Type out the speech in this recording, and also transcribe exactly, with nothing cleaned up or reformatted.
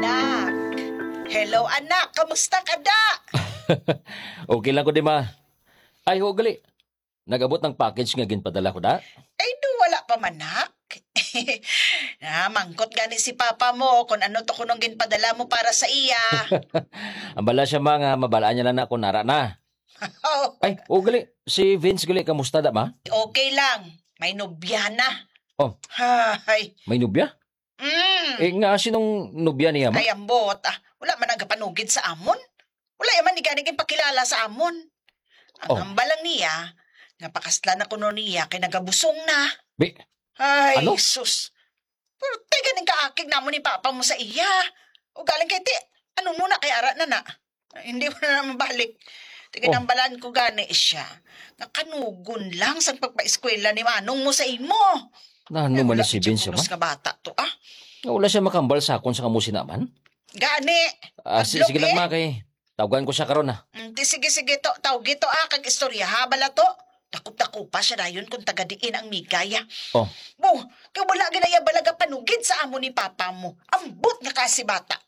Anak. Hello, anak. Kamusta ka, da? Okay lang ko, di ma. Ay, ho, gali. Nag-abot ang package nga ginpadala ko, da? Ay, do, wala pa man, nak. Ah, mangkot gani si papa mo kung ano to kunong ginpadala mo para sa iya. Ambala siya, ma, nga mabalaan niya lang na kung nara na. Oh. Ay, o gali, si Vince gali, kamusta da, ma? Okay lang. May nobya na. Oh. Hay. May nobya? Mm. Eh, nga sinong nobya niya, ma? Ay, ambot. Ah, wala man nagapanugid sa amon. Wala man ni gani ginpakilala sa amon. Ang Oh. hambal lang niya, nga pakaslan na kuno niya kay nagabusong na. Bi-, Ay, Ano? sus. Pero ti ganing kaakig namon ni papa mo sa iya. O galing kay ti, ano mo na kay ara na na? Ay, hindi mo na naman balik. Ti Oh. ginambalan ko gani siya. Nga kanugon lang sang pagpaeskwela ni manong mo sa imo. Nano Ay, man wala ni si gid siya Vince, ma? Pulos nga bata to, ah. Nga wala siya makambal sa akon sa kamo sinaman? Gani. Ah, si-, Hadlok sige lang, eh. ma, kay tawgan ko siya karon, ah. Mm, ti sige, sige to. Tawgi to, ah, kag istorya, ha, bala to. Dakop-dakop pa siya dayon kung taga diin ang migay, ah. Oh. Bo, kay wala ginaya balaga panugid sa amo ni papa mo. Ambot nga kasi bata.